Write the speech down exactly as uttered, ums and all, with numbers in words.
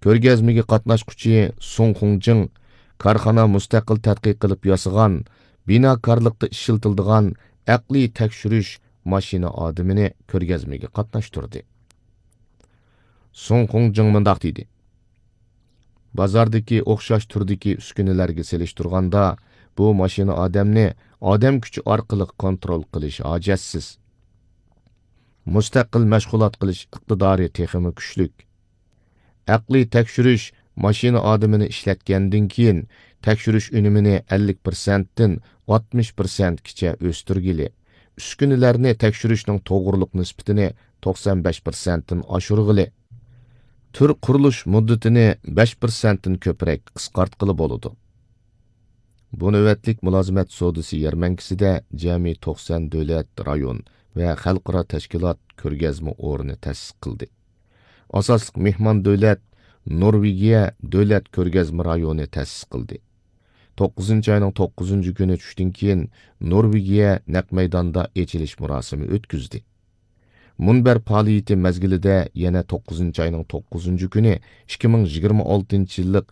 كۆرگەزمىگە قاتناشقۇچى سۇڭ خۇڭجىڭ كارخانا مۇستەقىل تەتقىق قىلىپ ياسىغان، بىناكارلىقتا ئىشلىتىلىدىغان ئەقلىي تەكشۈرۈش ماشىنا ئادىمىنى كۆرگەزمىگە قاتناشتۇردى. سۇڭ خۇڭجىڭ مۇنداق دېدى: بازاردىكى ئوخشاش تۈردىكى ئۈسكۈنىلەرگە سېلىشتۇرغاندا، بۇ ماشىنا ئادەمنى ئادەم كۈچى ئارقىلىق كونترول قىلىش ھاجەتسىز. مۇستەقىل مەشغۇلات قىلىش ئىقتىدارى تېخىمۇ كۈچلۈك. ئەقلىي تەكشۈرۈش ماشىنا ئادىمىنى ئىشلەتكەندىن كېيىن، تەكشۈرۈش ئۈنۈمىنى ئەللىك پىرسەنتتىن ئاتمىش پىرسەنتكىچە ئۆستۈرگىلى، ئۈسكۈنىلەرنى تەكشۈرۈشنىڭ توغرىلىق نىسبىتىنى توقسان بەش پىرسەنتتىن ئاشۇرغىلى، تۈر قۇرۇلۇش مۇددىتىنى بەش پىرسەنتتىن كۆپرەك قىسقارتقىلى بولىدۇ. بۇ نۆۋەتلىك مۇلازىمەت سودىسى يەرمەنكىسىدە جەمئىي توقسان دۆلەت، رايون ۋە خەلقئارا تەشكىلات كۆرگەزمە ئورنى تەسىس قىلدى. ئاساسلىق مېھمان دۆلەت نورۋېگىيە دۆلەت كۆرگەزمە رايونى تەسىس قىلدى. توققۇزىنچى ئاينىڭ توققۇزىنچى كۈنى چۈشتىن كېيىن نورۋېگىيە نەق مەيداندا ئېچىلىش مۇراسىمى ئۆتكۈزدى. مۇنبەر پائالىيىتى مەزگىلىدە يەنە توققۇزىنچى ئاينىڭ توققۇزىنچى كۈنى ئىككى مىڭ يىگىرمە ئالتىنچى يىللىق